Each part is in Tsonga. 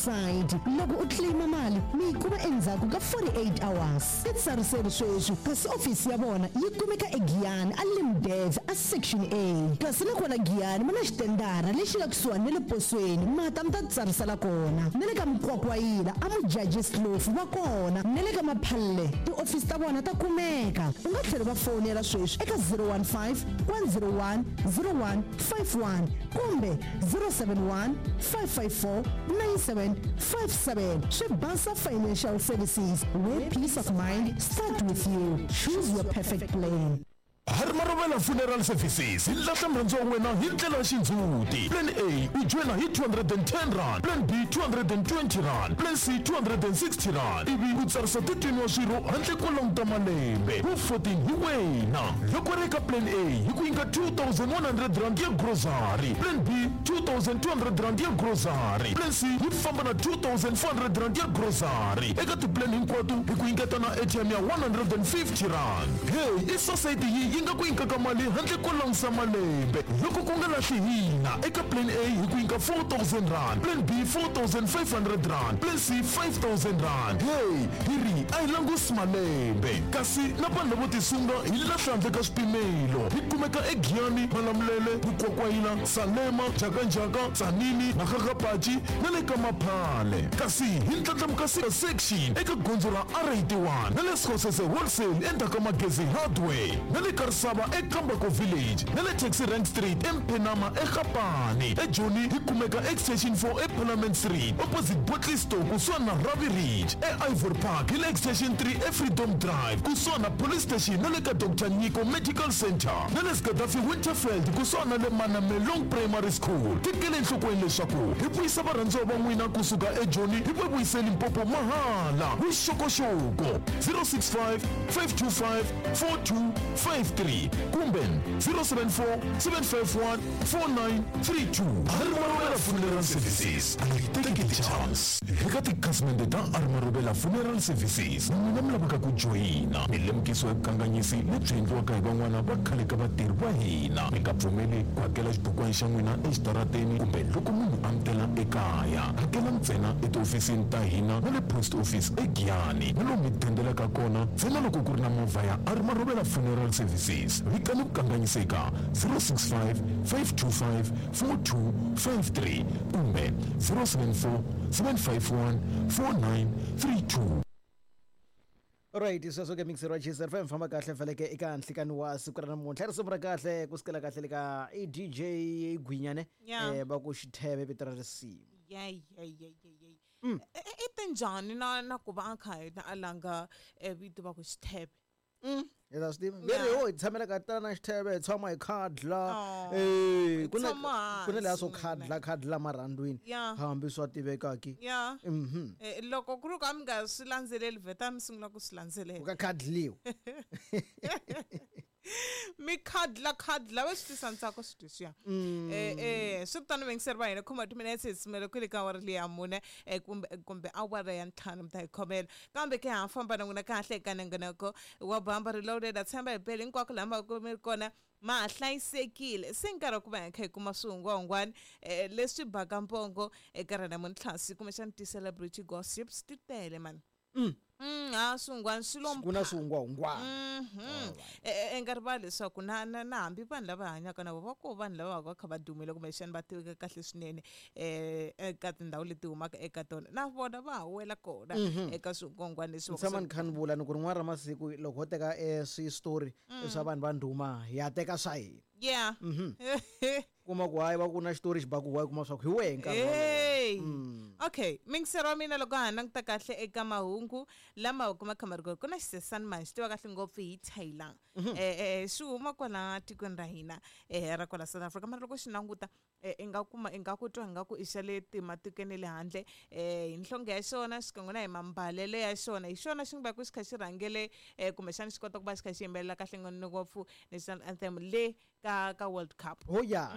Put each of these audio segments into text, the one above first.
Society. Loko u claim mali mi yi kuma endzhaku ka 48 hours. Ti tsariseli sweswi kasi ofisi ya vona yi kumeka eGiyani a Limdev a Section A. Kasi na kwala Giyani va na xitendara lexi nga kusuhani na le posweni ma ta mi ta tsarisela kona. Na le ka Mukwakwayila a Mujajis Kloof va kona na le ka Maphalle tiofisi ta vona ta kumeka. U nga tlhela u va fowunela sweswi eka 015 101 0151 kumbe 071 554 9757. Swibasa Financial Services, where peace of mind start with you. Choose your perfect plan. Harmarovela Funeral Services hi lahla murhandziwa wa wena hi ndlela ya xindzhuti. Plan A u joyina hi 210 rand, Plan B 220 rand, Plan C 260 rand ivi u tsarisa 13 wa swirho handle ko languta malembe. Wu 14 hi wena. Loko ri eka Plan A hi ku nyika 2100 rand ya grocery, Plan B 2200 rand ya grocery, Plan C yi famba na 2400 rand ya grocery. Eka tiplan hinkwato hi ku nyiketa na airtime ya 150 rand. Hey, i society yi yi nga ku nyikaka mali handle ko langusa malembe. Loko ku nga lahli hina eka Plan A hi ku nyika 4000 rand, Plan B 4500 rand, Plan C 5000 rand. Hey, hi ri a hi langusi malembe. Kasi na vanhu lavo tisunga hi lahla handle ka swipimelo. Hi kumeka eGiyani, Malamulele, Mukwakwayila, Salema, Njhakanjhaka, Tzaneen, Makgakgapachi na le ka Maphale. Kasi hi ndlandlamuka section eka gondzo ra R81 na le Skhosese Wholesale endzhaku ka Magezi Hardware na le Karisava eKambako Village na le Taxi Rank Street eMphenama eGapane. EJoni hi kumeka Extension 4 eParliament Street opposite Bottle Store kusuhani na Ravi Ridge. EIvory Park hi le Extension 3 eFreedom Drive kusuhani na Police Station na le ka Doctor Nyiko Medical Centre na le Gaddafi Winterveld kusuhani na le Manamelong Primary School. Tekela enhlokweni leswaku hi vuyisa varhandziwa va n'wina kusuka eJoni hi va vuyise Limpopo mahala. Vuxokoxoko 065 525 4253 kumbe 074 751 4932. Armarobela Funeral Services a yi teki ti-chance. Eka tikhasimende ta Armarobela Funeral Services, n'wina mi lavaka ku joyina mi lemukisiwa hi vukanganyisi lebyi endliwaka hi van'wana va khale ka vatirhi va hina. Mi nga pfumeli ku hakela xibukwana xa n'wina exitarateni kumbe loko munhu a mi tela ekaya. Hakela ntsena etihofisini ta hina na le post office eGiyani na lomu mi dendelaka kona ntsena loko ku ri na movha ya Armarobela Funeral Services. Vikani vukanganyisi eka 065 525 4253 kumbe 074 751 4932. Right, sweswo ke mixer wa Chiefs FM famba kahle feleke eka nhlikani wa siku ra namuntlha risimu ra kahle ku sukela kahle le ka i DJ Gwinyane. Va ku xitheve vito ra risimu. Yeah yeah yeah yeah yeah. I tinjhani na ku va a kha yena a langa vito va ku xitheve? Hi ta swi tiva veri ho hi tshamela ka tana xitheve hi tshama hi khadla. Oh, Eh, hi ku na tshama ku na leya swo hansi, khadla khadla marhandzwini hambi swa tivekaki. Loko ku ri ku a mi nga swi landzeleli vheta mi sungula ku swi landzelela. Ku ka khadliwa. Mi khadla khadla va swi tisa ntsako swi leswiya. Swi tano vayingiseri va hina khoma timinetse hi sumela kwele ka awara leyi ya mune kumbe awara ya ntlhanu mi ta hi khomela kambe ke ha famba na n'wina kahle eka nongonoko wa Bamba Reloaded. Ha tshemba hi bele hinkwako laha ma ku mi ri kona ma ha hlayisekile. Se nkarhi wa ku va hi kha hi kuma swihungwahungwani leswi baka mpongo eka ra namuntlha kumbexana ti-celebrity gossips ti tele mani. Ha swihungwani swi lo Ku na swihungwahungwana. I nga rivali leswaku na hambi vanhu lava hanyaka na vona va koho vanhu lava va ka va kha va dumile kumbexana va tiveka kahle swinene eka tindhawu leti humaka eka tona na vona va ha wela kona eka swihungwahungwana leswi Ni tshama ni kha ni vula ni ku rin'wana ra masiku loko ho teka swi-story swa vanhu va ndhuma hi ya teka swa hina. Kuma ku hayi va ku na xitori xi baku wa kuma swa ku hi wehe nkarhi wolowo. Hey. Okay, mingisero wa mina loko ha languta kahle eka mahungu lama kuma kha ma ri kona ku na xisesani mani xi tiva kahle ngopfu hi Taylor. Xi huma kwala tikweni ra hina ra kwala South Africa mara loko xi languta i nga kuma i nga ku twa ingaku i xa le matikweni ya le handle hi nhlonge ya xona xikan'we na hi mambalelo ya xona hi xona xi nga va ku xi kha xi rhangele kumbexana xi kota ku va xi kha xi yimbelela kahle ngopfu national anthem le ka World Cup. Oh yeah.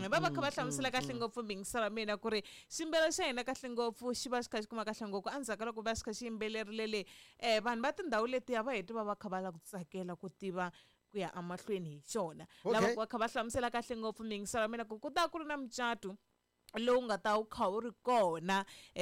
Va va kha va hlamusela kahle ngopfu mingiselo wa mina ku ri ximbelo xa hina kahle ngopfu xi va xi kha xi kuma kahle ngopfu endzhaku ka loko va xi kha xi yimbelerile le vanhu va tindhawu letiya va heti va va kha va lava ku tsakela ku tiva ku ya emahlweni hi xona. Lava va kha va hlamusela kahle ngopfu mingiselo wa mina ku ku ta ku ri na mucato lowu nga ta wu kha wu ri kona.